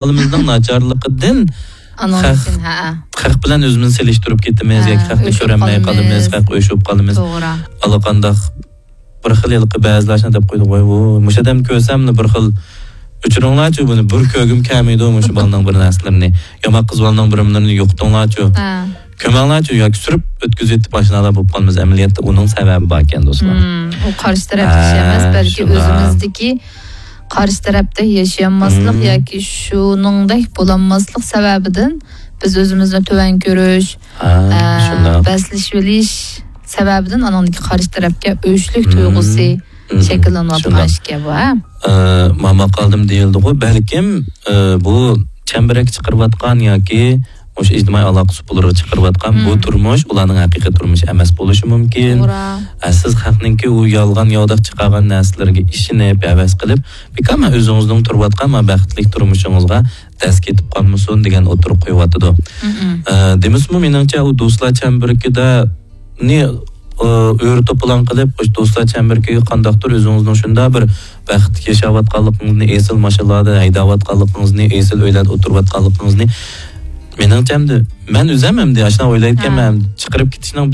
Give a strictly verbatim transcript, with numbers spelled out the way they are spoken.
ئەھۋالىمىزنىڭ ناچارلىقىدىن خەق، خەق بىلەن ئۆزىمىزنى سېلىشتۇرۇپ كېتىمىز ياكى خەقنى كۆرەلمەي قالىمىز، خەق ئۆچۈپ قالىمىز. توغرا. ئاللىقانداق بىر خىل ھېلىقى بەزىلەر شۇنداق دەپ قويىدۇ، ۋاي، ۋۇ، مۇشۇ ئادەم كۆرسەملا بىر خىل، ئۆچۈرۈڭلارچۇ بۇنى، بىر كۆرگۈم كەلمەيدۇ مۇشۇ بالىنىڭ بىر نەرسىلىرىنى. يامان قىز بالىنىڭ بىر نېمىلىرىنى يوقىتىڭلارچۇ. كۆمەڭلارچۇ ياكى سۈرۈپ ئۆتكۈزۈۋېتىپ ئاشۇنداقلار بولۇپ قالىمىز. ئەمەلىيەتتە ئۇنىڭ سەۋەبى باركەن، دوستلار. مم، ئۇ قارشى تەرەپتىكى ئىش ئەمەس، بەلكى ئۆزىمىزدىكى قارشى تەرەپتە ياشىيالماسلىق ياكى شۇنىڭدەك بولالماسلىق سەۋەبىدىن بىز ئۆزىمىزنى تۆۋەن كۆرۈش، ھە، ئە، شۇنداق. بەسلىشىۋېلىش سەۋەبىدىن ئانىڭدىكى قارشى تەرەپكە ئۆچلۈك تۇيغۇسى شەكىللىنىۋاتقان ئىكەن بۇ، ھە؟ ئە، ما ماقالىدىمۇ دېيىلدىغۇ، بەلكىم، ئە، بۇ چەمبىرەك چىقىرىۋاتقان ياكى مۇشۇ ئىجتىمائىي ئالاقە سۇپىلىرىغا چىقىرىۋاتقان بۇ تۇرمۇش ئۇلارنىڭ ھەقىقىي تۇرمۇشى ئەمەس بولۇشى مۇمكىن. توغرا. ئە، سىز خەقنىڭكى ئۇ يالغان ياۋىداق چىقارغان نەرسىلىرىگە ئىشىنىپ، ھەۋەس قىلىپ، بىكار مەن ئۆزىڭىزنىڭ تۇرۇۋاتقان ما بەختلىك تۇرمۇشىڭىزغا دەس كېتىپ قالمىسۇن دېگەن ئوتتۇرىغا قويۇۋاتىدۇ. ئە، دېمىسىمۇ مېنىڭچە ئۇ دوستلار چەمبىرىكىدە نى، ئە، ئۆرە توپىلاڭ قىلىپ، ئوش دوستلار چەمبىرىكىگە قانداقتۇر ئۆزىڭىزنىڭ شۇنداق بىر بەختلىك ياشاۋاتقانلىقىڭىزنى، ئېسىل ماشىنىلاردا ھەيدەۋاتقانلىقىڭىزنى، ئېسىل ئۆيلەردە ئولتۇرۇۋاتقانلىقىڭىزنى، مېنىڭچە ئەمدى مەن ئۆزۈم ئەمدى ئاشۇنداق ئويلايدىكەنمەن، چىقىرىپ كېتىشنىڭ